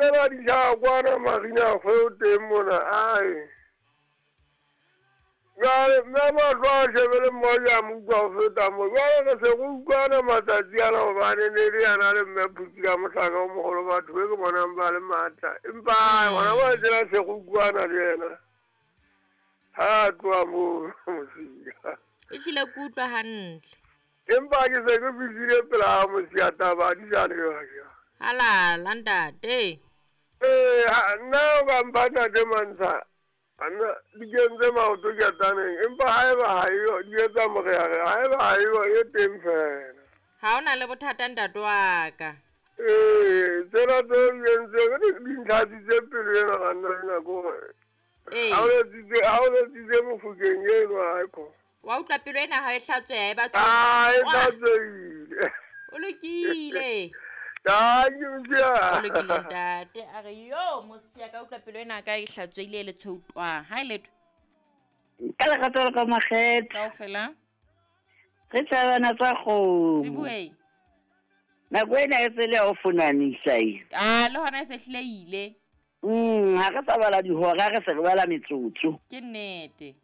Tsena di hlaha kwana Marina kgweo teng mona ai. Jwale mme mahlo a shebele mmoja a mo utlwa ho feta mo. Jwale re se re utlwana matsatsi ana hobane ne le yana le mme Phuti ka mohlaka o moholo batho be ke bonang ba le matla. Empa hona ba tsena se re utlwana le yena. Ha a tloha moo Mosia. Ehlile ke utlwa hantle. Empa ke se ke fihlile pela ha Mosia taba di sa le jwang. Halala ntate. Ee, nna o ka mpha ntate Mantsha. Nna di kentse maoto ketaneng empa haeba ha eyo di etsa moreare haeba ha eyo e teng fela. Ha o na le bothata ntate wa ka. Ee, tsena tseo di entseng di ntlhatsitse pelo ena ga nna ena kore. Ee. Ha o letsitse mofokeng eno haekho. Wa utlwa pelo ena ha e hlatsweha e batho. Ah, e hlatswehile. O lokile. Thank you, Mosia. O lokile ntate. A re yo Mosia ka utlwa pelo ena ka e hlatswehile e le tshweutwa. Ha e letho. Ka lerato le ka makgethe. Kaofela. Re tsabana tsa kgomo. Sibuwe. Nako ena e tsele ya ho fonanisa e. Ah, le hona e se hlile ile. Ha re sa bala dihora, re se re bala metsotso. Ke nnete.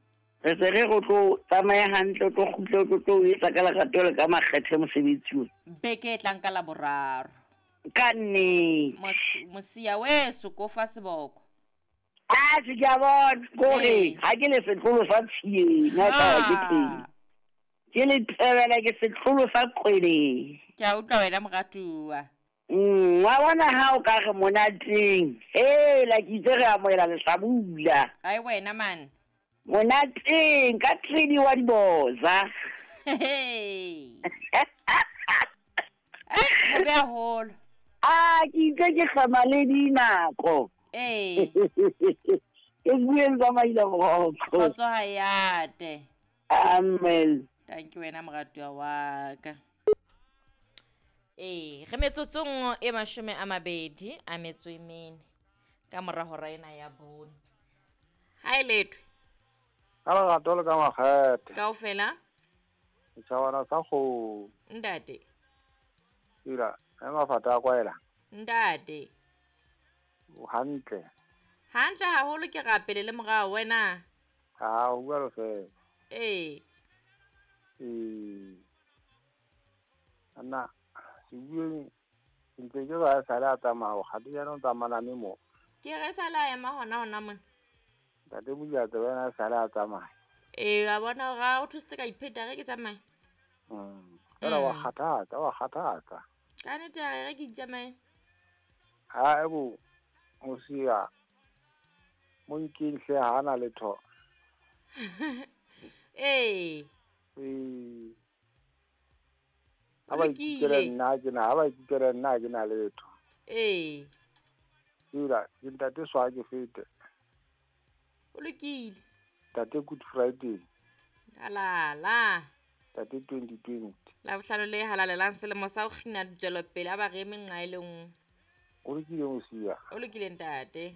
Re se re re tlo tsamaya hantle, o tlo kgutle, o tlo tlo etsa ka lerato le ka makgethe mosebetsi o. Beke e tlang ka la boraro. Ka nnete. Mosia weso ko fa seboko. Ah, se ke a bona, kore ha ke le setlolo sa tshiyeng, ha taba ke teng. Ke le tebela ke setlolo sa kweleng. Ke a utlwa wena moratuwa. Wa bona ha o ka re monateng. Hela ke itse re amohela lehlabula. Ai wena man. Monateng ka 3D wa diboza. Hey. Ho be haholo. Ah, ke itse ke hlama le dinako. Ee. Ke bueng tsa maila boroko. Kgotso ha e ate. Amen. Thank you wena moratuwa wa ka. Ee, re metsotsong e 22 a metso e mene ka mora hora ena ya bone. Ha e letwe. Ka lerato le ka makgethe. Kaofela. Setjhabana sa kgomo. Ntate. Ila, e mafata a kwaela. Ntate. O hantle. Hantle haholo ke rapele le morao wena. Ha, o bua fela. Ee. Ee. Anna, se bueng ntse ke ba sa le a tsamaya, kgate jaanong tsamana me mo. Ke re sa la ema hona hona mona. Ntate Mojatse wena sa le a tsamaya. Ee, wa bona hore ha o thusitse ka ipheta re ke tsamaye. Fela wa kgathatsa, wa kgathatsa. Ka nnete a re ke itsamaye. Ha e bo Mosia mo nkeng hle ha na letho. Ee. Ee. Ha ba ikutlwele nna ke na, ha ba ikutlwele nna ke na letho. Ee. Ila, ke ntate swa ke fete. O lokile. Ntate Good Friday. Halala. Ntate 2020. La bohlano le halalelang selemo sa ho kgina ditswelopele a ba re eme nqa e le nngwe. O lokile Mosia. O lokile ntate.